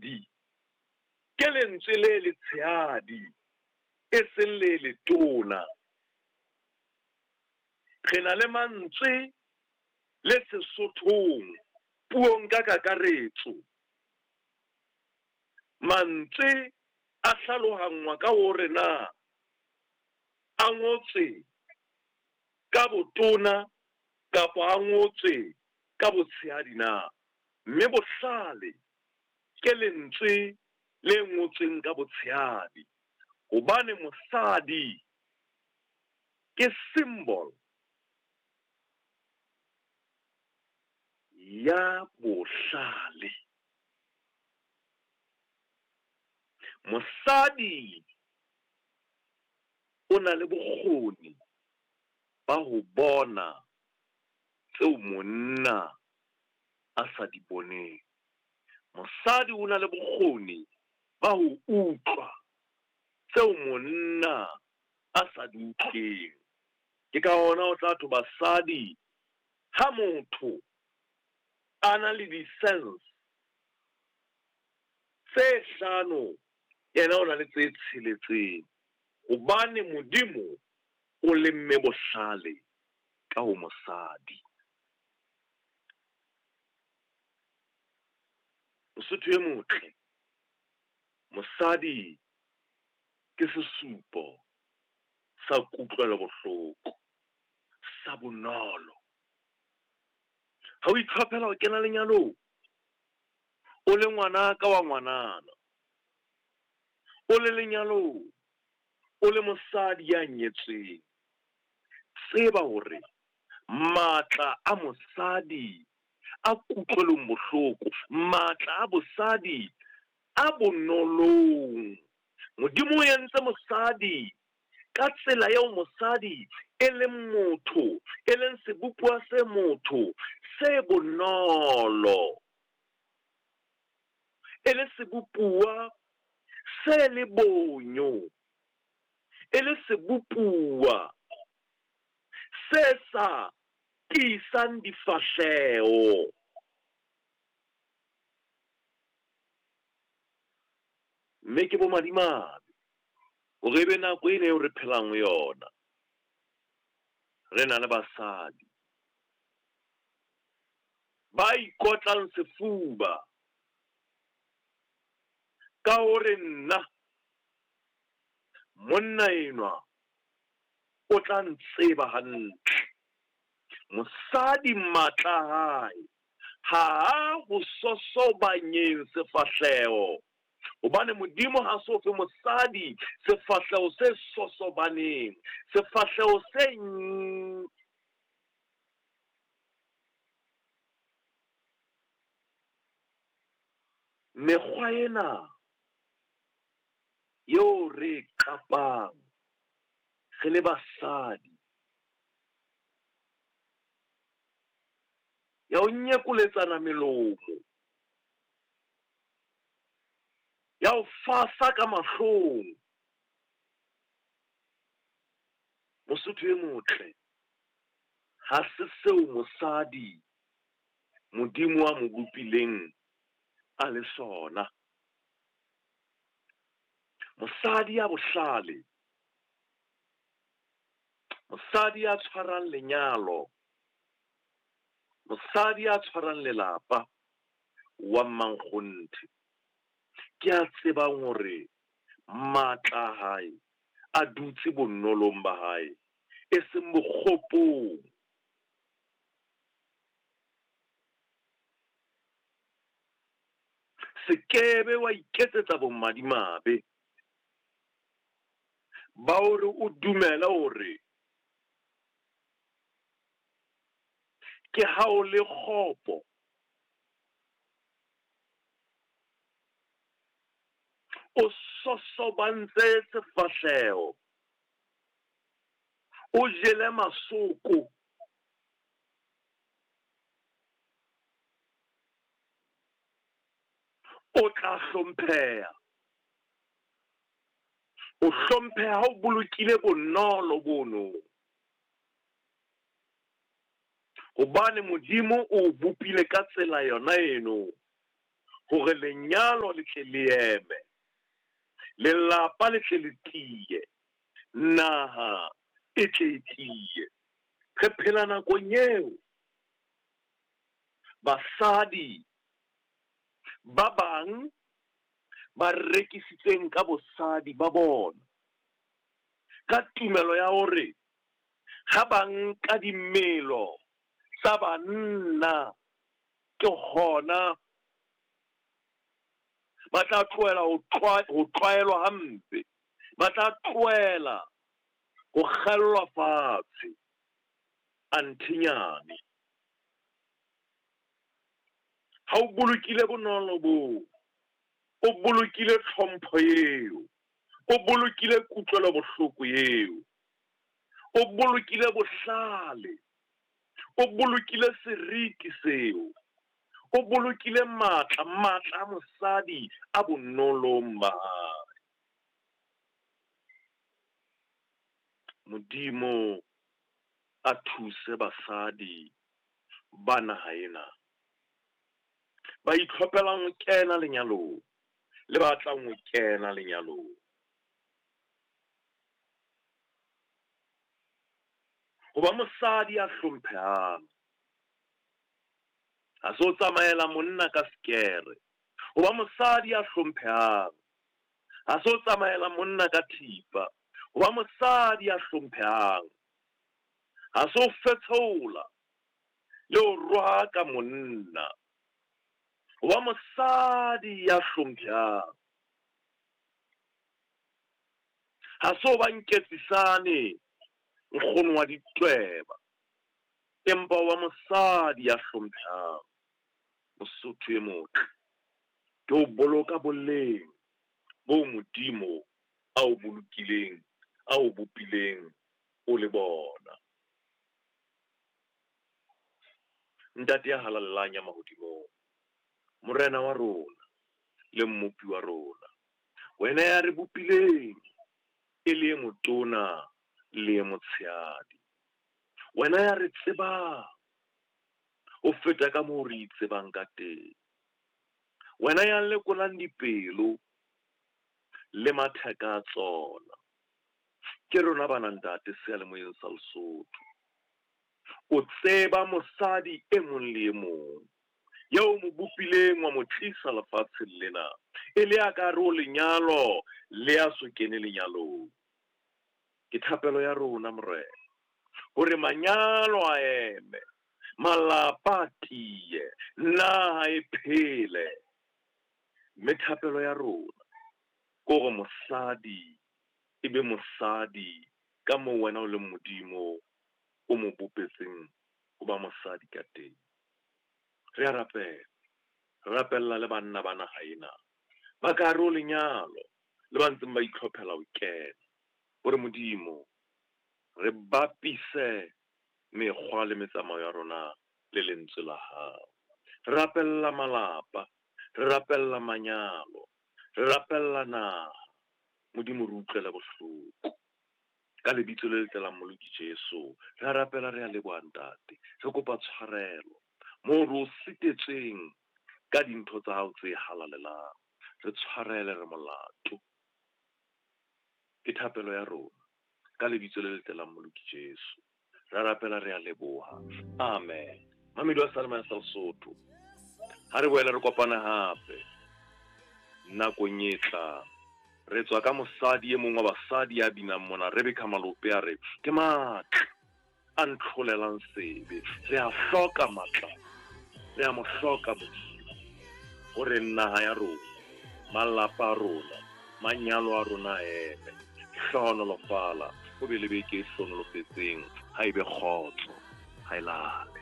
Mosadi ke lentswe le letshehadi, e seng le letona. Re na le mantswe le Sesothong puong ka kakaretso. Mantswe a hlalohangwa ka hore na a ngotswe ka botona kapa a ngotswe ka botshehadi na. Mme bohlale ke lentswe le ngotsweng ka botshehadi hobane mosadi ke symbol ya bohlale. Mosadi o na le bokgoni ba ho bona tseo monna a sa di boneng. Mosadi o na le bokgoni ba ho utlwa tseo monna a sa di utlweng. Ke ka hona o tla thwe basadi ha motho a na le di-sense tse hlano, yena o na le tse tsheletseng. Hobane Modimo o lemme bohlale ka ho mosadi. Mosotho e motle, mosadi ke sesupo sa kutlwelo bohloko, sa bonolo. Ha o itlhophela ho kena lenyalong, o le ngwana ka wa ngwanana, o le lenyalong, o le mosadi ya nyetsweng, tseba hore matla a mosadi a kutlwelong bohloko, matla a bosadi a bonolong. Modimo o entse mosadi ka tsela eo mosadi e leng motho, e leng sebopuwa se motho se bonolo. E le sebopuwa se le bonyo, e le sebopuwa se sa tiisang difahleho. Mme ke bomadimabe hore ebe nako ena eo re phelang ho yona, re na le basadi ba ikotlang sefuba ka hore nna monna enwa o tla ntseba hantle. Mosadi matla a hae ha a ho sosobanyeng sefahleho, hobane Modimo ha so fe mosadi sefahleho se sosobaneng, sefahleho se mekgwa ena eo re e qapang re le basadi ya ho nyekoletsana melomo, ya ho fasa ka mahlong. Mosotho e motle, ha se seo mosadi Modimo a mo bopileng a le sona. Mosadi ya bohlale, mosadi ya tshwarang lenyalo, mosadi ya tshwarang lelapa wa mmankgonthe, ke a tsebang hore matla a hae a dutse bonolong ba hae, e seng bokgopong. Se kebe wa iketsetsa bomadimabe ba hore o dumele hore ke ha o le kgopo, o sosobantse sefahleho, o jele masoko. O tla hlompheha. O hlompheha ha o bolokile bonolo bono. Hobane Modimo o bopile ka tsela yona eno. hore lenyalo le tle le eme, lelapa le tle le tiye, naha e tle e tiye. Re phela nakong eo basadi ba bang ba rekisitseng ka bosadi ba bona ka tumelo ya hore ha ba nka dimelo tsa banna ke hona ba tla tlohela ho tlwaelwa hampe, ba tla tlohela ho kgellwa fatshe. Anthinyane, ha o bolokile bonolo boo, o bolokile tlhompho eo, o bolokile kutlwelobohloko eo, o bolokile bohlale, o bolokile seriti seo, o bolokile matla, matla a mosadi a bonolong ba hae. Modimo a thuse basadi ba naha ena ba itlhophelang ho kena lenyalong le ba tlang ho kena lenyalong. Ho ba mosadi ya hlomphehang ha se ho tsamaela monna ka sekere. Ho ba mosadi ya hlomphehang ha se ho tsamaela monna ka thipa. Ho ba mosadi ya hlomphehang ha se ho fetsheola le ho rohaka monna. Ho ba mosadi ya hlomphehang ha se ho ba nketsisane nkgono wa ditweba, empa ho ba mosadi ya hlomphehang. Mosotho e motle ke ho boloka boleng boo Modimo a o bolokileng, a o bopileng o le bona. Ntate ya halalelang ya mahodimong, Morena wa rona le Mmopi wa rona, wena ya re bopileng e le e motona le e motshehadi, wena ya re tsebang ho feta ka moo re itsebang ka teng, wena ya lekolang dipelo le matheka a tsona, ke rona bana ntate seyalemoyeng sa Lesotho. O tseba mosadi e mong le e mong eo mo bopileng wa mo tlisa lefatsheng lena e le ya ka hare ho lenyalo le ya so kene lenyalong. Ke thapelo ya rona Morena hore manyalo a eme, malapa a tiye, naha e phele. Mme thapelo ya rona ke hore mosadi e be mosadi ka moo wena o leng Modimo o mo bopetseng ho ba mosadi ka teng. Re a rapela, re rapella le banna ba naha ena ba ka hare ho lenyalo le ba ntseng ba itlhophela ho kena, hore Modimo re bapise mekgwa le metsamao ya rona le lentswe la hao. Re rapella malapa, re rapella manyalo, re rapella naha. Modimo re utlwele bohloko. Ka lebitso le letle la Mmoloki Jesu, re a rapela, re a leboha ntate. Re kopa tshwarelo moo re o sitetsweng ka dintho tsa hao tse halalelang. Re tshwarele, re molato. Ke thapelo ya rona ka lebitso le letle la Mmoloki Jesu. Re a rapela, re a leboha. Amen. Mamedi wa Seyalemoya sa Lesotho, ha re boele re kopane hape nakong e tlang. Re tswa ka mosadi e mong wa basadi ya binang mona, Rebecca Malope, a re ke matla a ntlholelang sebe. Re a hloka matla, re a mo hloka Modimo hore naha ya rona, malapa a rona, manyalo a rona a eme. Hlohonolofala, o be le beke e hlohonolofetseng, ha e be kgotso, ha e lale.